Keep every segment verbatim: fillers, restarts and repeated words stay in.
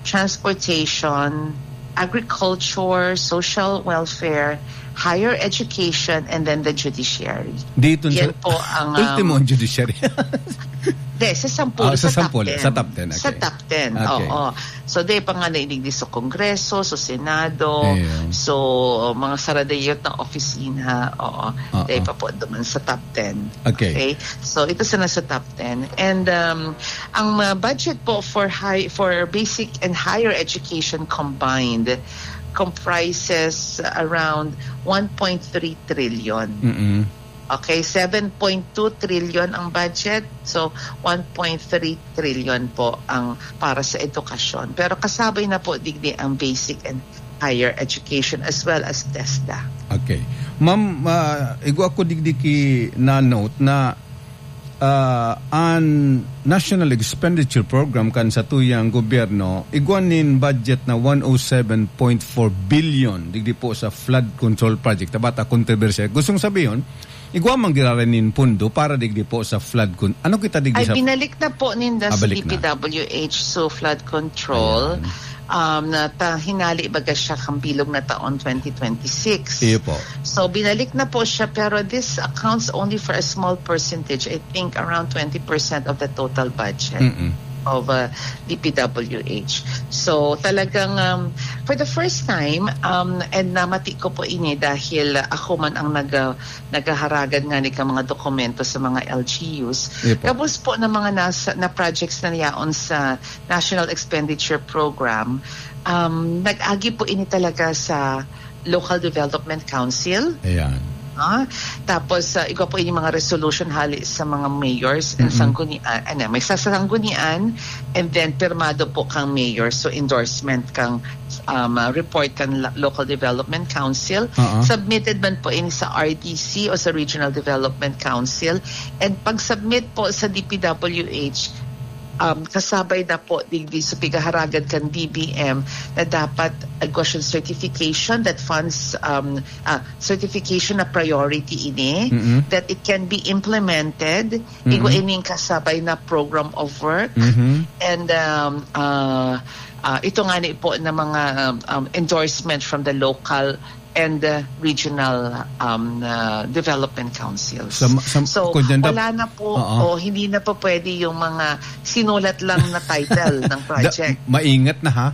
transportation, agriculture, social welfare, higher education, and then the judiciary. Dito sa Yan po ang, um, ultimo ang judiciary. Hindi, sa sampu, Ah, sa sa top sampu, ten. sa top ten, Sa okay. top ten, Okay. oo. So, di pa nga nailigdi sa Kongreso, sa Senado, Iyo. so, mga saradayot na opisina, oo. Oo. Di pa po duman sa top ten. Okay. Okay? So, ito sana sa top ten. And, um, ang, uh, budget po for high, for basic and higher education combined comprises around one point three trillion. Mm-mm. Okay, seven point two trillion ang budget. So, one point three trillion po ang para sa edukasyon. Pero kasabay na po digdi ang basic and higher education as well as TESDA. Okay. Ma'am, ah, igwa ko digdi ki na note na, ah, an National Expenditure Program kan satuyang gobyerno, igwa nin budget na one oh seven point four billion digdi po sa flood control project. Tabata kontrobersiya. Gustong sabihon, igwa man giraray nin pondo para digdi po sa flood con-, ano kita digdi Ay, sa binalik na po ninda Ah, sa balik na. D P W H, so flood control. Ayan. Um, na ta-, hinali baga siya kang bilog na taon twenty twenty-six. Iyo po. So, binalik na po siya, pero this accounts only for a small percentage. I think around twenty percent of the total budget Mm-mm. of, uh, D P W H. So, talagang, um, for the first time, um, and namati ko po ini dahil ako man ang nag-, uh, naghaharagad nga ni ka mga dokumento sa mga L G Us. Iyo po. Gabos po ng mga nasa, na projects na yaon sa National Expenditure Program, um, nag-agi po ini talaga sa Local Development Council. Ayan. Ah, tapos, ah, igwa po ini mga resolution hali sa mga mayors and Mm-mm. sanggunian, ano, may sasanggunian, and then pirmado po kang mayor, so endorsement kang, um, ah, report kan la-, Local Development Council. Oo. Submitted man po ini sa R D C o sa Regional Development Council, and pag-submit po sa D P W H, um, kasabay na po digdi sa pigaharagad kan D B M na dapat igwa siyang certification that funds, um, ah, certification na priority ini, Mm-mm. that it can be implemented, Mm-mm. igwa ining kasabay na program of work, Mm-hmm. and, um, ah, ah, ito nga ni po na mga, um, um, endorsement from the local and, uh, regional, um, uh, development councils. Sa ma-, sa, So, kung dyan na wala na po, Oo. o hindi na po pwede yung mga sinulat lang na title ng Da-, project. maingat na, ha?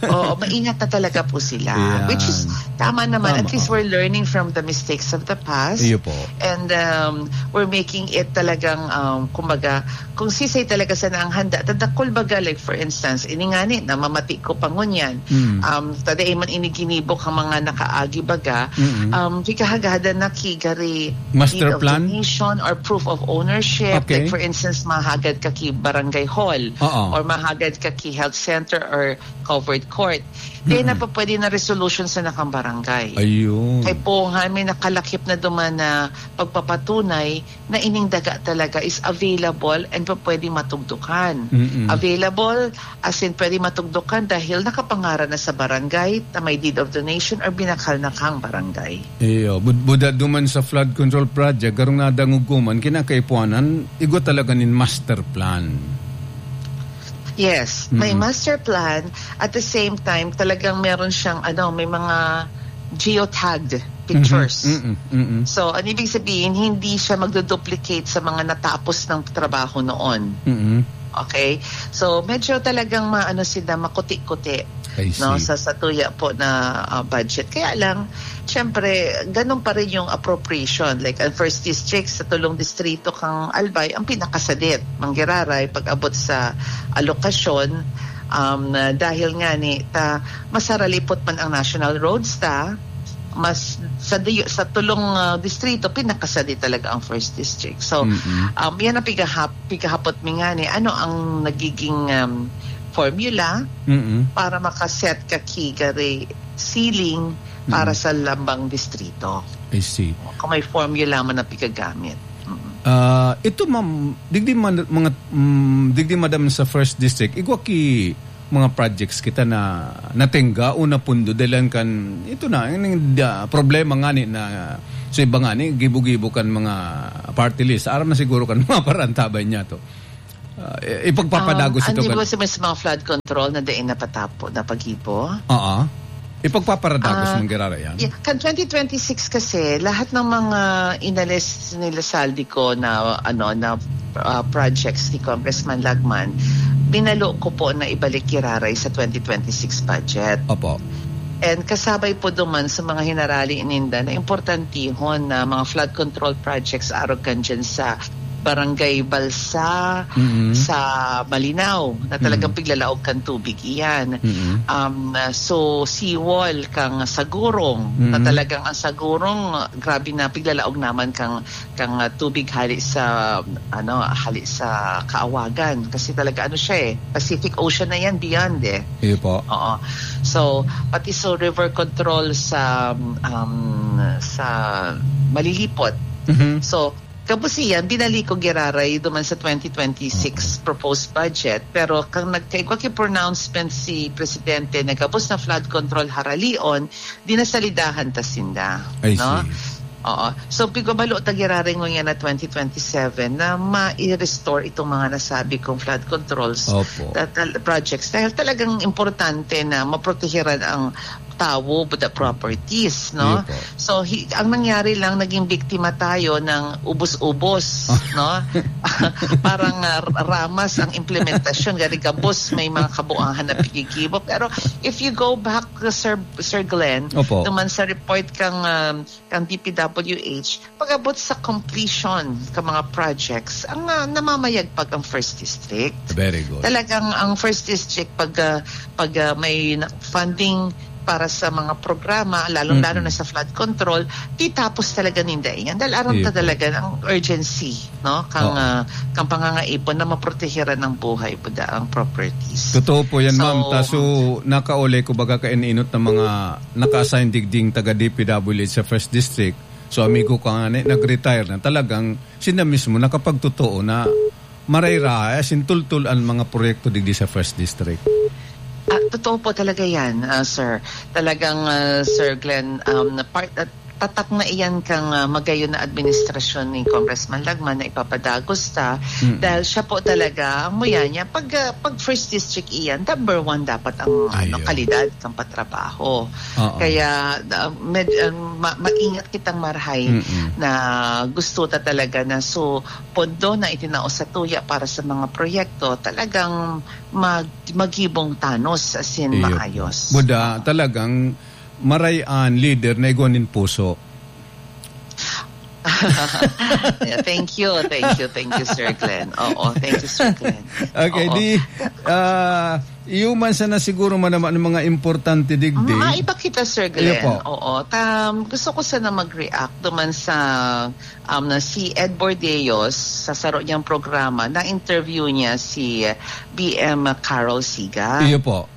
Oo, maingat na talaga po sila. Ayan. Which is, tama naman. Tama, At least oo. we're learning from the mistakes of the past. Iyo po. And, um, we're making it talagang, um, kumbaga, kung sisay talaga sana ang handa, tadakol baga, like, for instance, ini ngani, namamati ko pa ngunyan. Mm. Um, tada man ini ginibo kang mga nakaagi baga, Mm-mm. um, pikahagadan na ki gari Master deed of plan? donation or proof of ownership. Okay. Like, for instance, mahagad ka ki barangay hall Oo. or mahagad ka ki health center or covered court. Then, Mm-mm. na pa pwede na resolution sa nakang barangay. Ayun. Kay po nga, may nakalakip na duman na pagpapatunay na ining daga talaga is available and pa pwede matugdukan. Mm-mm. Available, as in, pwede matugdukan dahil nakapangaran na sa barangay, na may deed of donation or binakal na kang barangay. Iyo, bud-, buda duman sa flood control project, garong nadangog ko man, kinakaipuanan, igwa talaga nin master plan. Yes, may Mm-mm. master plan. At the same time, talagang meron siyang, ano, may mga geotagged pictures. Mhm. Mm-mm. Mm-mm. So, ang ibig sabihin, hindi siya magduduplicate sa mga natapos ng trabaho noon. Mm-mm. Okay? So, medyo talagang maano sila, makuti-kuti, I no, see. sa, sa tuya po na, ah, budget. Kaya lang, syempre, ganun pa rin yung appropriation. Like, ang first district sa tulong distrito kang Albay, ang pinakasadit, manggiraray, pag-abot sa alokasyon, um, na dahil nga ni, ta, masaralipot man ang national roads ta, mas sa diyo, sa tulong, ah, distrito, pinakasadi talaga ang first district. So, Mm-mm. um, yan ang pigahap-, pigahapot mi nga ni, ano ang nagiging, um, formula Mm-mm. para makaset ka ki gari ceiling para Mm-mm. sa lambang distrito? I see. Kung may formula man na pigagamit. Mm. Ah, ito, ma'am, digdi man, mga, mm, digdi, madam, sa first district, igwa ki mga projects kita na natingga o napundo dahil kan, ito na, yung, ah, problema nga ni na, so, iba nga ni, gibo-gibo kan mga party list. Aram na siguro kan mga parantabay niya to. Ah, i-, ipagpapadagos Ah, ito, ano ba gal- sa mas mga flood control na dai napatapo, napagibo? Oo. Ipagpaparadagos Ah, mong girara yan? Yeah, kan twenty twenty-six kasi, lahat ng mga inalis nila Zaldy Co na, ano, na, ah, projects ni Congressman Lagman, binalo ko po na ibalik giraray sa twenty twenty-six budget. Opo. And kasabay po duman sa mga hinarali ninda na importantihon na mga flood control projects arog kan dyan sa Barangay Balsa, Mm. sa Malinao, na talagang Mm. piglalaog kan tubig iyan. Mm. Um, so, seawall kang Sagurong, na Mm. talagang ang Sagurong, grabe na piglalaog naman kang, kang, ah, tubig hali sa, ano, hali sa Kaawagan. Kasi talaga, ano siya eh, Pacific Ocean na yan, beyond eh. Iyo po. Oo. So, pati sa river control sa, um, sa Malilipot. Mhm. So, gabos iyan, binalik ko giraray duman sa twenty twenty-six Oo. proposed budget. Pero kang nagkaigwa ki pronouncement si Presidente na gabos na flood control haralion, di nasalidahan ta sinda, I no? see. Oo. So, pigabalo ta giraray ngunyan na twenty twenty-seven na ma-restore itong mga nasabi kong flood controls Opo. ta-, tal-, projects. Dahil talagang importante na maprotehiran ang tawo with the properties, no? Iyo po. So, hi-, ang nangyari lang, naging biktima tayo ng ubos-ubos, no? Parang, ah, ramas ang implementasyon, gari gabos, may mga kabuangan na pigigibo. Pero if you go back, Sir, Sir Glenn, Opo. naman sa report kang, um, kang D P W H, pag-abot sa completion ka mga projects, ang, ah, namamayagpag ang First District. Very good. Talagang ang First District, pag, ah, pag, ah, may na-, funding para sa mga programa, lalong-lalo Mm-mm. na sa flood control, titapos talaga ninda iyan. Dahil aram Iyo ta po. talaga ang urgency, no? Kang, Oo. ah, kang pangangaipon na maprotehiran ang buhay, buda ang properties. Totoo po yan, So, ma'am. Taso, nakaulay ko baga kain-inot ng mga naka-assign digding taga D P W H sa First District. So, amigo ko nga ni, nag-retire na. Talagang sila mismo nakapagtotoo na maray-ray, as in, tultul ang mga proyekto digdi sa First District. Ah, totoo po talaga yan, ah, sir. Talagang, ah, Sir Glenn, um, na part, at tatak na iyan kang, ah, magayon na administrasyon ni Congressman Lagman na ipapadagos ta. Mm. Dahil siya po talaga, ang muya niya, pag, ah, pag First District iyan, number one dapat ang, ano, Ayun. kalidad ng patrabaho. Oo. Kaya, ah, med-, ah, ma-, maingat kitang marhay Mm-mm. na gusto ta talaga na so, pondo na itinao sa tuya para sa mga proyekto, talagang mag-, maghibong tanos, as in, Iyo po. maayos. Buda, Oo. talagang maray an leader na igwa nin puso. Yeah, thank you, thank you, thank you, Sir Glenn. Oo, thank you, Sir Glenn. Okay, Oo. di, ah, iyo man sana siguro man naman ang mga importante digdi. Ah, iba kita, Sir Iyo Glenn. po. Oo. Tam, gusto ko sana mag-react duman sa, um, na si Ed Bordeos, sa saro niyang programa, na-interview niya si B M Carol Siga. Iyo po.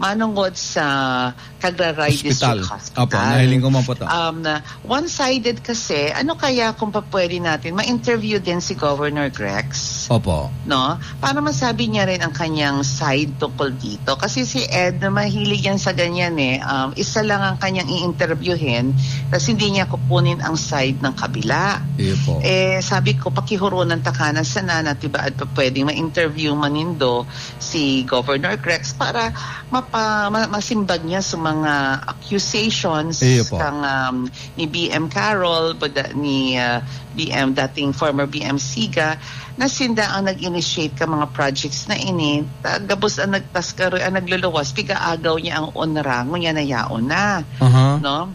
Manungod sa Cagraray Hospital. District Hospital. Opo, nahiling ko man po to. Um, na one-sided kasi, ano kaya kung pa pwede natin ma-interview din si Governor Grex? Opo. No? Para masabi niya rin ang kanyang side tungkol dito. Kasi si Ed, mahilig yan sa ganyan eh. Um, isa lang ang kanyang i-interviewin, tas hindi niya kukunin ang side ng kabila. Iyo po. Eh, sabi ko, pakihurunan ta ka na sana na tibaad pa pwedeng ma-interview man nindo si Governor Grex para mapa-, ma-, masimbag niya sa mga accusations Iyo po. kang, um, ni B M Carol, buda-, ni, uh, B M, dating former B M Siga, na sinda ang nag-initiate ka mga projects na ini, ta-, gabos ang nagtaskaro, ang nagluluwas, pigaagaw niya ang onra, ngunyan na yaon na. Aha. No?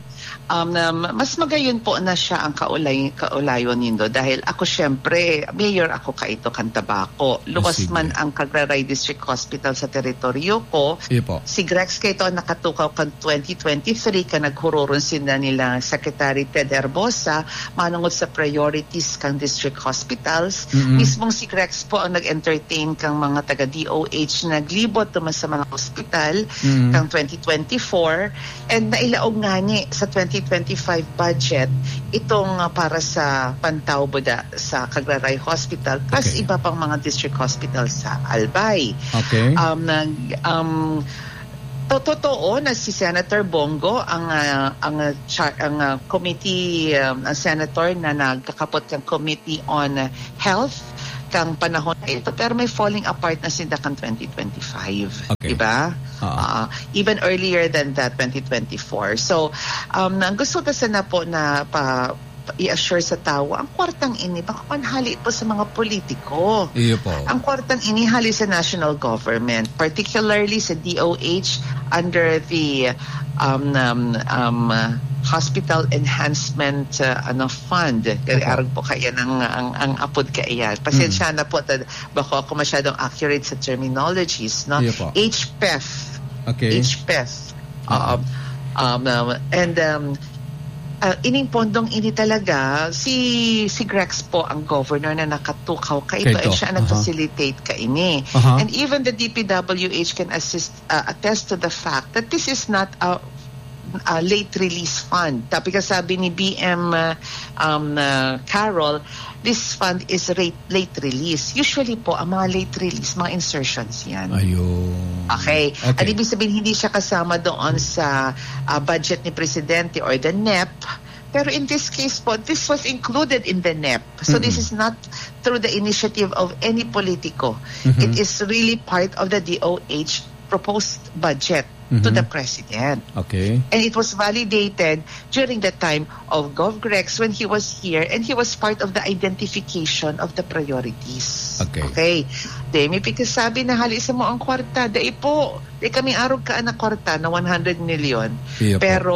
Um, na ma-, mas magayon po na siya ang kaulay-, kaulayon nindo. Dahil ako, syempre, mayor ako kaito kan Tabaco. Luwas Sige. man ang Cagraray District Hospital sa teritoryo ko, Iyo po. si Grex kaito ang nakatukaw kan twenty twenty-three, kan naghururon sinda nila Secretary Ted Herbosa, manungod sa priorities kan district hospitals. Mm-mm. Mismong si Grex po ang nag-entertain kang mga taga D O H na naglibot duman sa mga hospital Mm. kang twenty twenty-four. And nailaog ngani sa twenty twenty-five budget itong, ah, para sa Pantaw Buda sa Cagraray Hospital, plus Okay. iba pang mga district hospital sa Albay. Okay. Um, nag-, um, to-, totoo na si Senator Bong Go ang, ah, ang, ah, char-, ang, ah, committee, um, ang senator na nagkakapot ng Committee on Health kang panahon na ito, pero may falling apart na sinda kan twenty twenty-five, Okay. di ba? Oo. Ah, even earlier than that, twenty twenty-four. So, um, ang gusto ta sana po na pa, pa-i-assure sa tawo, ang kwartang ini, bako man hali po sa mga politiko. Iyo po. Ang kwartang ini hali sa national government, particularly sa D O H under the, um, um, um, uh, Hospital Enhancement, uh, ano, Fund. Kaya Opo. arog po kaya ng, ang, ang apod kaya. Pasensya Mm. na po, tad-, bako ako masyadong accurate sa terminologies, no? Iyo po. H P E F. Okay. H P E F. Oo. Oo. Um, um, and, um, ah, ining pondong ini talaga, si, si Grex po ang governor na nakatukaw kaito, Kaito. and siya ang Aha. nag-facilitate kaini. Aha. And even the D P W H can assist, uh, attest to the fact that this is not a, a late release fund. Tapi ka sabi ni B M, uh, um, uh, Carol, this fund is late, late release. Usually po, ang mga late release, mga insertions yan. Ayun. Okay. Okay. Ang ibig sabihin, hindi siya kasama doon sa, ah, budget ni Presidente or the nep. Pero in this case po, this was included in the nep. So this Mm-mm. is not through the initiative of any politiko. Mm-hmm. It is really part of the D O H proposed budget to Mm-hmm. the president. Okay. And it was validated during the time of Gov Grex when he was here and he was part of the identification of the priorities. Okay. Okay. Di, may pigkasabi na hali sa mo ang kwarta. Dai po. Di kami arog ka na kwarta na one hundred million. Iyo po. Pero,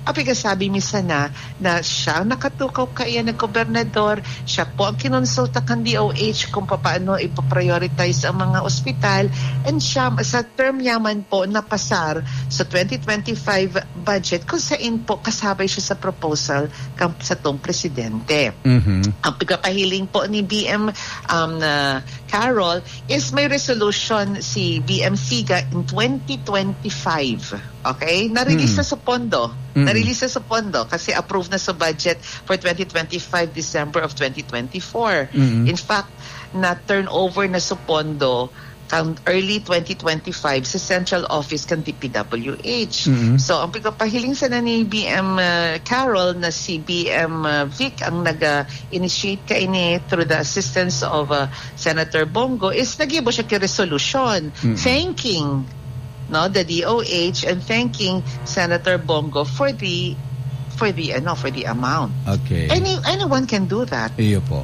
ang pigkasabi mi sana na siya ang nakatukaw kaiyan na gobernador, siya po ang kinonsulta kan D O H kung papaano ipaprioritize ang mga ospital, and siya, sa term niya man po, napasar sa twenty twenty-five budget kung sain po kasabay siya sa proposal kan satong presidente. Mhm. Ang pagpapahiling po ni B M, um, na Carol is may resolution si B M Siga in twenty twenty-five. Okay? Na-release Mm. na sa pondo. Mm. Na-release na sa pondo kasi approved na sa budget for twenty twenty-five, December of twenty twenty-four. Mm. In fact, na-turn over na sa pondo kan early twenty twenty-five sa central office kan D P W H. Mm. So, ang pagpapahiling sana ni B M, uh, Carol na si B M, uh, Vic ang nag, uh, initiate kaini through the assistance of, uh, Senator Bongo is nagibo siya ki resolution Mm. thanking, no, the D O H and thanking Senator Bongo for the, for the, ano, for the amount. Okay. Any, anyone can do that. Iyo po.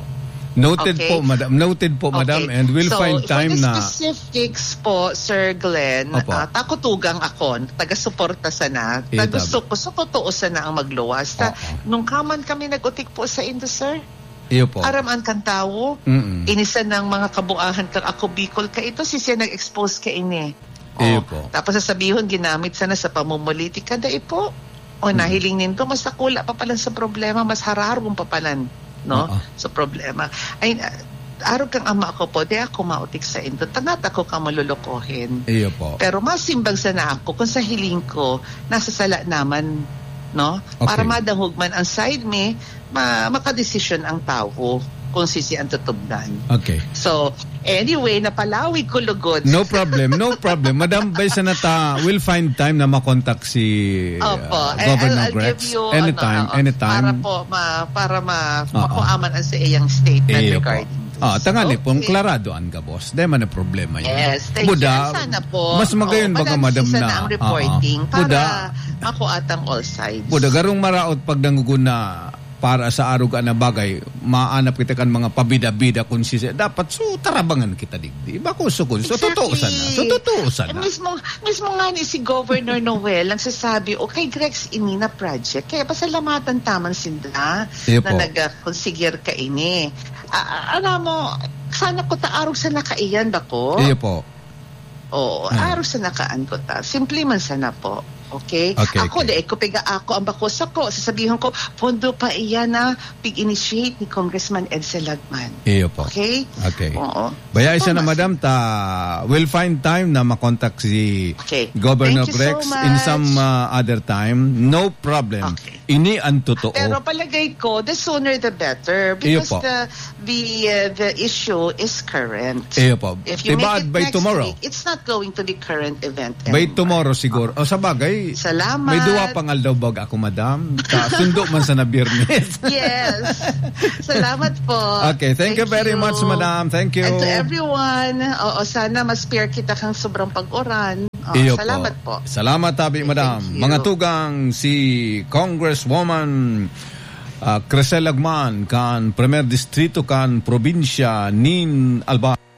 Noted Okay. po, madam. Noted po, madam, Okay. and we'll So, find time for the na specifics po, Sir Glenn, Opo. ah, takutugang ako, taga-suporta sana. Iyo, Ta-, gusto tama. ko, sa totoo sana ang magluwas. Ta-, Oo. nung kaman kami nag-utik po sa indo, sir, Iyo po. aram an kan tawo, Mm-mm. ini sanang mga kabuahan kang Ako Bicol ka ito, si siya nag-expose ka ini. Iyo Oh, po. tapos sasabihon, ginamit sana sa pamumulitika, dai po. O, Mm. nahiling nindo, mas dakula pa palan sa problema, mas hararong pa palan, no? Oo. Sa problema. Ay, ah, arog kang ama ko po, di ako mautik sa indo. Tangat ako ka malulukohin. Iyo po. Pero masimbag sana ako kung sa hiling ko, nasa sala naman, no? Para Okay. madangog man ang side mi, ma-, makadesisyon ang tawo kung sisi ang tutugdan. Okay. So, anyway, napalawig ko lugod. No problem, no problem. Madam, bay sa nata, we'll find time na makontak si, Opo. uh, I-, Governor I'll, I'll Grex. give you, Anytime, ano, oo, anytime. para po ma-, para ma-, Oo. makuaman ang sa iyang statement Iyo po. regarding this. Ah, tangali po, Okay. klarado ang gabos. Di man ang problema yun. Yes, thank Buda, you. Sana po. mas magayon Oo, baga, madam, madali sana na, ang reporting oo. para Buda, makuatang all sides. Buda, garong maraot pag nangugun na para sa arog na bagay, maanap kita kan mga pabida-bida kung si, dapat so tarabangan kita digdi. Iba ko sukon. So, Exactly. totoo sana. So, totoo sana. Eh, mismo, mismo nga ni si Governor Noel ang sasabi, "O, kay Grex ini na project." Kaya pasalamatan taman sinda Iyo na po. nag-, ah, konsigir ka ini. Ah, ah, alam mo, sana ko ta arog sa nakaiyan ba ko? Iyo po. Oo, Hmm. arog sa nakaan ko ta. Simple man sana po. Okay? Okay, Ako, okay. dai ko piga ako ang bako sako. Sasabihon ko, pondo pa iyan na pig-initiate ni Congressman Edsel Lagman. Iyo po. Okay? Okay. Oo. Baya isa na, Thomas. madam, ta, we'll find time na makontak si Okay. Governor Thank you so Grex in some, much. uh, other time. No problem. Okay. Ini ang totoo. Pero palagay ko, the sooner the better. Iyo Because po. the, the, uh, the issue is current. Iyo po. If you Diba, make it by next tomorrow? week, it's not going to be current event By anymore. tomorrow siguro. O, sa bagay, Salamat. May duwa pang aldaw bag ako, madam. Ta, sundo man sa na Biyernes. Yes. Salamat po. Okay, thank you Thank very you. much, madam. Thank you. And to everyone, oo, sana ma-spare kita kang sobrang pag-uran. Oo, Iyo salamat po. po. Salamat, tabi, madam. Thank you. Mga tugang, si Congresswoman, ah, Crisel Lagman, kan Primer Distrito, kan probinsya nin Albay.